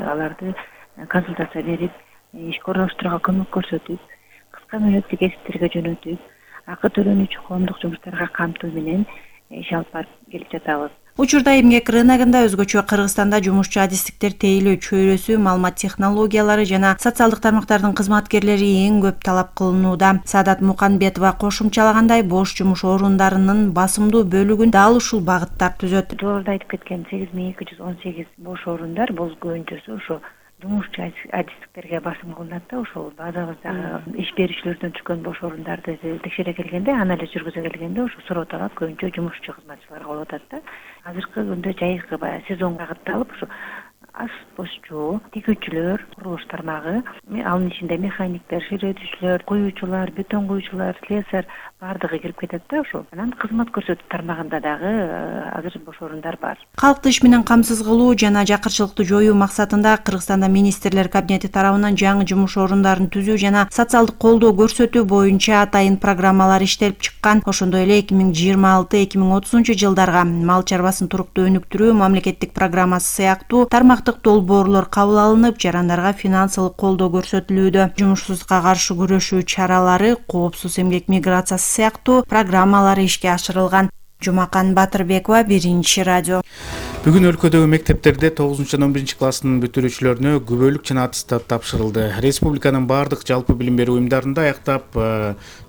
аларды консультация берип, ишке орноштурууга көмөк көрсөтүп, кыска мөөнөттүк эсиптерге жөнөтүп, акы төлөнүүчү коомдук жумуштарга камтуу менен иш алып барып келип жатабыз. Учурда эмгек рыногунда өзгөчө Кыргызстанда жумушчу адистиктер тейлөө чөйрөсү, маалымат технологиялары жана социалдык тармактардын кызматкерлери эң көп талап кылынууда. Саадат Муканбетова кошумчалагандай, бош жумуш орундарынын басымдуу бөлүгүн дал ушул багыттар түзөт. Жогоруда айтып кеткен 8218 бош орундар бул көбүнчөсү ошо жумушчу адистиктерге басым кылынат да, ошол базабыздагы иш берүүчүлөрдөн түшкөн бош орундарды текшере келгенде, анализ жүргүзө келгенде ошо суроо талап көбүнчө жумушчу кызматчыларга болуп атат да. Азыркы күндө жайкы баягы сезонго багытталып, ошо ашпозчу, тигүүчүлөр, курулуш тармагы, анын ичинде механиктер, ширетүүчүлөр, куюучулар, бетон куюучулар, слесарь баардыгы кирип кетет да ошо. Анан кызмат көрсөтүү тармагында дагы азыр бош орундар бар. Калкты иш менен камсыз кылуу жана жакырчылыкты жоюу максатында Кыргызстанда министрлер кабинети тарабынан жаңы жумуш орундарын түзүү жана социалдык колдоо көрсөтүү боюнча атайын программалар иштелип чыккан. Ошондой эле 2026-2030 жылдарга мал чарбасын туруктуу өнүктүрүү мамлекеттик программасы сыяктуу тармактык долбоорлор кабыл алынып, жарандарга финансылык колдоо көрсөтүлүүдө. Жумушсуздукка каршы күрөшүү чаралары, коопсуз эмгек миграциясы сыяктуу программалары ишке ашырылган. Жумакан Батырбекова, Биринчи радио. Бүгүн өлкөдөгү мектептерде 9 жана 11 класстын бүтүрүүчүлөрүнө күбөлүк жана аттестат тапшырылды. Республиканын бардык жалпы билим берүү уюмдарында аяктап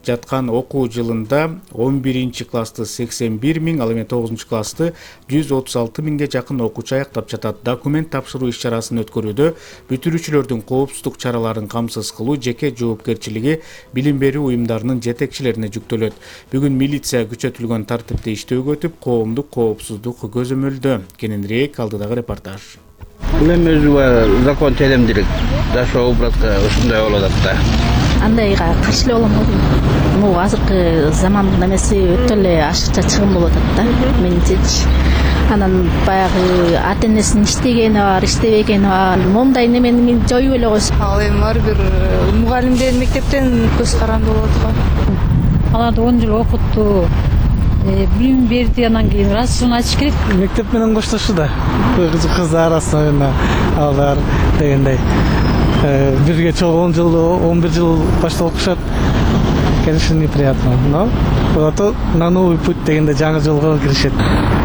жаткан окуу жылында 11 классты 81 миң, ал эми 9 классты 136 миңге жакын окуучу аяктап жатат. Документ тапшыруу иш-чарасын өткөрүүдө бүтүрүүчүлөрдүн коопсуздук чараларын камсыз кылуу жеке жоопкерчилиги билим берүү уюмдарынын жетекчилерине жүктөлөт. Бүгүн милиция күчөтүлгөн тартипте иштөөгө өтүп, коомдук коопсуздук көзөмөлдө. Кененирээк алдыдагы репортаж. Мен өзү закон теремдилик жашоо образга ушундай болуп атат да. Андайга каршы эле болом. Могу азыркы замандын эмеси өтө эле ашыкча чыгым болуп атат да, менимчечи. Анан баягы ата энесинин иштегени бар, иштебегени бар. Момундай немени мен жоюп эле койсо. Ал эми ар бир мугалимдер мектептен көз каранды болуп аткан. Аларды 10 жыл окутту. Билим берди, анан кийин расчын ачыш керек. Мектеп менен коштошууда. Кыздар арасында алар дегендей. Бирге чогуу 10 жыл, 11 жыл башта окушат. Конечно, неприятно, но зато на новый путь дегенде жаңы жолго киришет.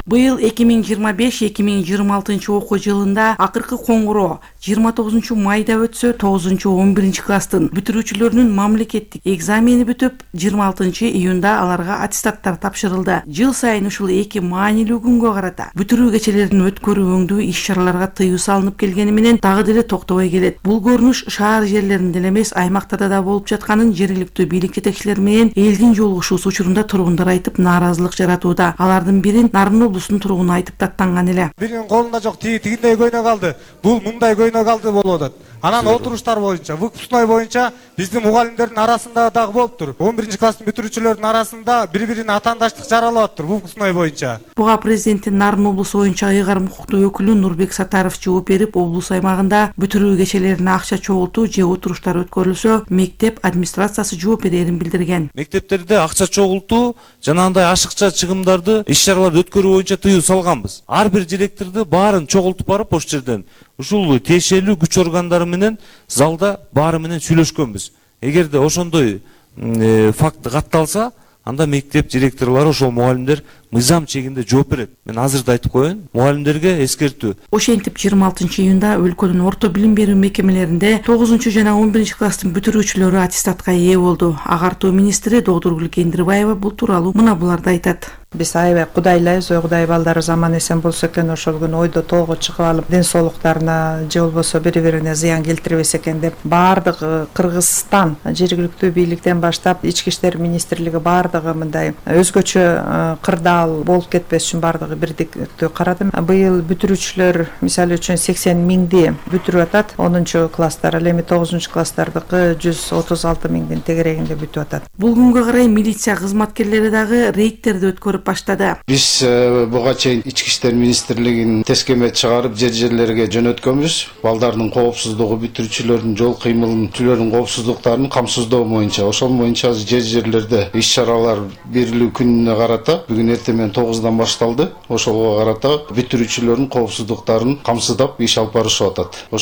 Быйыл 2025-2026 окуу жылында акыркы коңгуроо 29 майда өтсө, 9-11 класстын бүтүрүүчүлөрүнүн мамлекеттик экзамени бүтүп, 26 июнда аларга аттестаттар тапшырылды. Жыл сайын ушул эки маанилүү күнгө карата бүтүрүү кечелерин өткөрүү өңдүү иш-чараларга тыюу салынып келгени менен дагы деле токтобой келет. Бул көрүнүш шаар жерлеринде эле эмес, аймактарда да болуп жатканын жергиликтүү бийлик жетекчилери менен элдин жолугушуусу учурунда тургундар айтып, нааразылык жаратууда. Алардын бирин Нарын облусунун тургуну айтып даттанган эле. Биринин колунда жок, тигиндей көйнөк алды, бул мындай көйнөк алды болуп атат. Анан отуруштар боюнча, выпускной боюнча биздин мугалимдердин арасында дагы болуптур. 11 класстын бүтүрүүчүлөрдүн арасында бири-бирине атаандаштык жаралып аттыр выпускной боюнча. Буга президенттин Нарын облусу боюнча ыйгарым укуктуу өкүлү Нурбек Сатаров жооп берип, облус аймагында бүтүрүү кечелерине акча чогултуу же отуруштар өткөрүлсө, мектеп администрациясы жооп берерин билдирген. Мектептерде акча чогултуу жана андай ашыкча чыгымдарды, иш-чараларды өткөрүү боюнча тыюу салганбыз. Ар бир директорду баарын чогултуп барып ошол жерден ушул тиешелүү күч органдары менен залда баары менен сүйлөшкөнбүз. Эгерде ошондой факт катталса, анда мектеп директорлору, ошол мугалимдер мыйзам чегинде жооп берет. Мен азыр да айтып коеюн, мугалимдерге эскертүү. Ошентип 26 июнда өлкөнүн орто билим берүү мекемелеринде 9 жана 11 класстын бүтүрүүчүлөрү аттестатка ээ болду. Агартуу министри Додургүл Кендирбаева бул тууралуу мына буларды айтат. Биз аябай кудайлайбыз, Кудай балдары заман эсен болсо экен, ошол күнү ойдо тоого чыгып алып, ден соолуктарына же болбосо бири-бирине зыян келтирбес экен деп, баардык Кыргызстан жергиликтүү бийликтен баштап ички иштер министрлиги баардыгы мындай өзгөчө кырдаал болуп кетпеш үчүн баардыгы бирдиктүү карады. Быйыл бүтүрүүчүлөр мисалы үчүн 80 миңди бүтүрүп атат, 10 класстар, ал эми 9 класстардыкы 136 миңдин тегерегинде бүтүп атат. Бул күнгө карай милиция кызматкерлери дагы рейдтерди өткөрүп баштады. Биз буга чейин ички иштер министрлигинин тескеме чыгарып жерлерге жөнөткөнбүз. Балдардын коопсуздугу, бүтүрүүчүлөрдүн жол кыймылын, түлөрдүн коопсуздуктарын камсыздоо боюнча, ошол боюнча жерлерде иш-чаралар берилүү күнүнө карата бүгүн эртең менен 9-дан башталды. Ошого карата бүтүрүүчүлөрдүн коопсуздуктарын камсыздап иш алып барышып атат.